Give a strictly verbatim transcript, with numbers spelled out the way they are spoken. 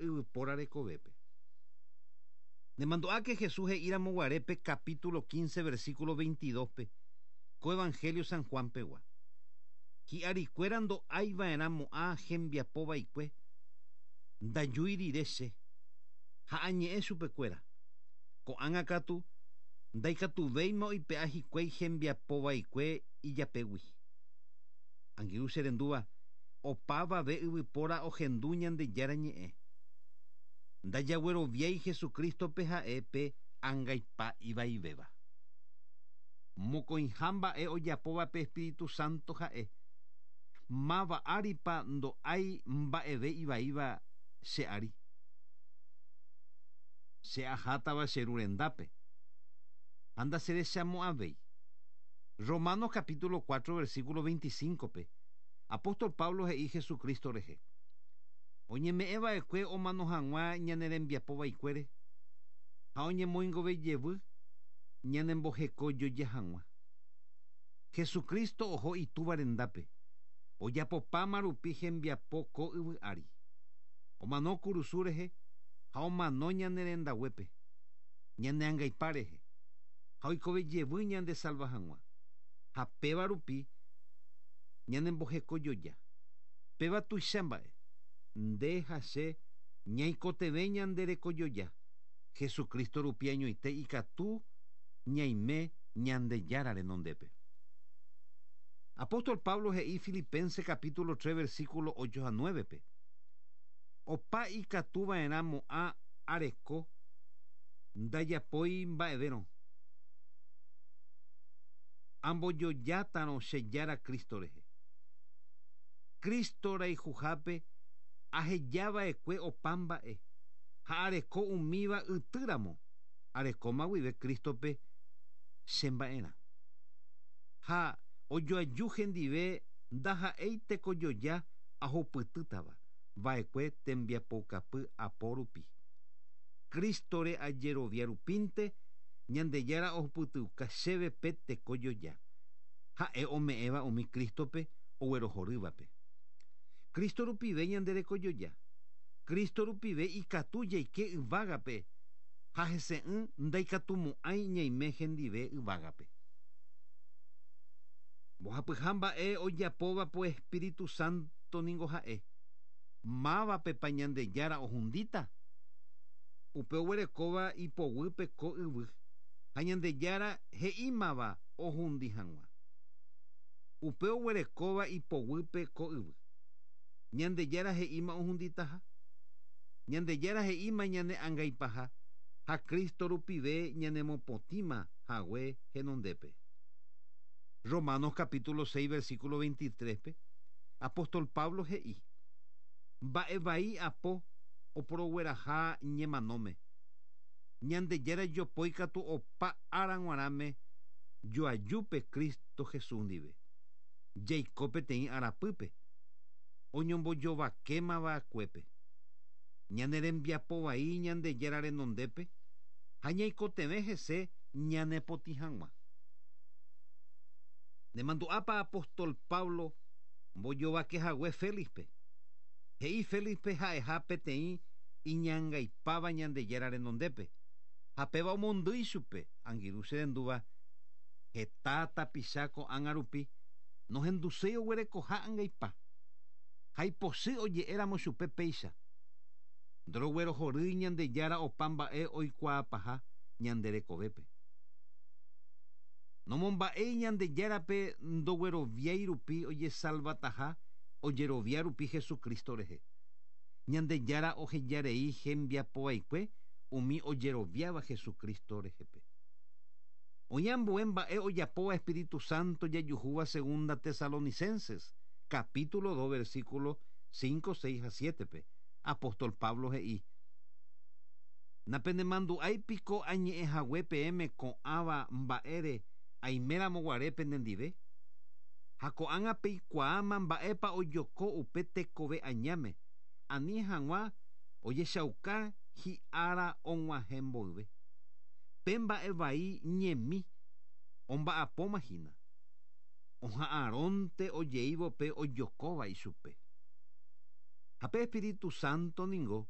yvypóra rekovépe. Nemandu'áke Jesús he'íramoguarépe capítulo quince versículo veintidós-pe ko Evangelio San Juan-pegua. Hi'arikuéra ndo'aiva'erãmo'ã hembiapova'ekue ndajúi rire che ha añe'ẽ chupekuéra. Ko'ág̃a katu ndaikatuvéima oipe'a hikuái hembiapova'ekue ijapégui. Angirũ che rendúva opavave yvypóra ohendu Ñandejára ñe'ẽ. Ndajagueroviái Jesucristo-pe ha'e pe angaipa ivaivéva. Mokõiha mba'e ojapóva pe Espíritu Santo ha'e. Máva áripa ndo'ái mba'eve ivaíva che ári. Che ahátava che ru rendápe. Ha ndacherechamo'ãvéi. Romanos capítulo cuatro versículo veinticinco-pe. Apóstol Pablo he'i Jesucristo rehe. Oñeme'ẽva'ekue omano hag̃ua ñane rembiapova'ekuére ha oñemoingove jevy ñanembohekojoja hag̃ua. Jesucristo oho itúva rendápe. Ojapopáma rupi hembiapo ko yvy ári. Omano kurusu rehe ha omano ñane rendaguépe, ñane angaipa rehe ha oikove jevy ñande salva hag̃ua. Ha péva rupi ñanembohekojoja. Péva tuicha mba'e. Nde ha che ñaikotevẽ ñande rekojoja. Jesucristo rupi añoite ikatu ñaime Ñandejára renondépe. Apóstol Pablo he'i Filipenses capítulo tres versículo ocho ha nueve-pe. Opa ikatuva'erãmo'ã areko ndajapói mba'evérõ. Ambojojátarõ che Jára Cristo rehe. Cristo rayhuhápe ahejava'ekue opa mba'e ha areko umíva ytýramo arekóma guive Cristo-pe che mba'erã. Ha ojoaju hendive ndaha'éi tekojoja ahupytýtava va'ekue tembiapokapy apo rupi. Cristo-re ajerovia rupínte Ñandejára ohupytyuka chéve pe tekojoja. Ha'e ome'ẽva umi Cristo-pe oguerohorývape. Cristo rupive ñande rekojoja. Cristo rupive ikatu jaike yvágape ha hese'ỹ ndaikatumo'ãi ñaime hendive yvágape. Mbohapyha mba'e ojapóva po Espíritu Santo ningo ha'e. Mávapepa Ñandejára ohundíta. Upe oguerekóva ipoguýpe ko yvy ha Ñandejára he'ímava ohundi hag̃ua. Upe oguerekóva ipoguýpe ko yvy. Ñandejára he'íma ohunditaha. Ñandejára he'íma ñane angaipaha ha Cristo rupive ñanemopotĩma hague henondépe. Romanos capítulo seis versículo veintitrés-pe Apóstol Pablo he'i mba'evai apo oporogueraha ñemanóme. Ñandejára jopói katu opa ára g̃uarãme joajúpe Cristo Jesús ndive. Jaiko peteĩ arapýpe oñombojovakémava'ekuépe. Ñane rembiapovai Ñandejára renondépe ha ñaikotevẽ hese ñanepotĩ hag̃ua. Nemandu'ápa Apóstol Pablo mbojovakehague Félixpe. He'i Félixpe ha'eha peteĩ iñangaipáva Ñandejára renondépe. Ha péva omondýi chupe angirũ che rendúva heta tapicha ko'ág̃a rupi nohenduséi oguerekoha angaipa. Ha ipochy oje'éramo chupe péicha. Ndoroguerohorýi Ñandejára opa mba'e oikuaapaha ñande rekovépe. Nomomba'éi Ñandejárape ndogueroviái rupi ojesalvataha ojerovia rupi Jesucristo rehe. Ñandejára ohejarei hembiapova'ekue umi ojeroviáva Jesucristo rehepe. Oĩ ambue mba'e ojapóva Espíritu Santo jajuhúva segunda Tesalonicenses capítulo dos versículo cinco, seis ha siete-pe. Apóstol Pablo he'i Napenemandu'áipiko añe'ẽhague peẽme ko'ãva mba'ére aiméramo penendive. Ha ko'ág̃a peikuaáma mba'épa ojoko upe tekove añáme ani hag̃ua ojechauka hi'ára og̃uahẽ mboyve. Pe mba'evai ñemi omba'apóma hína. Oha'ãrónte ojeívo pe ojokóva ichupe. Ha pe Espíritu Santo ningo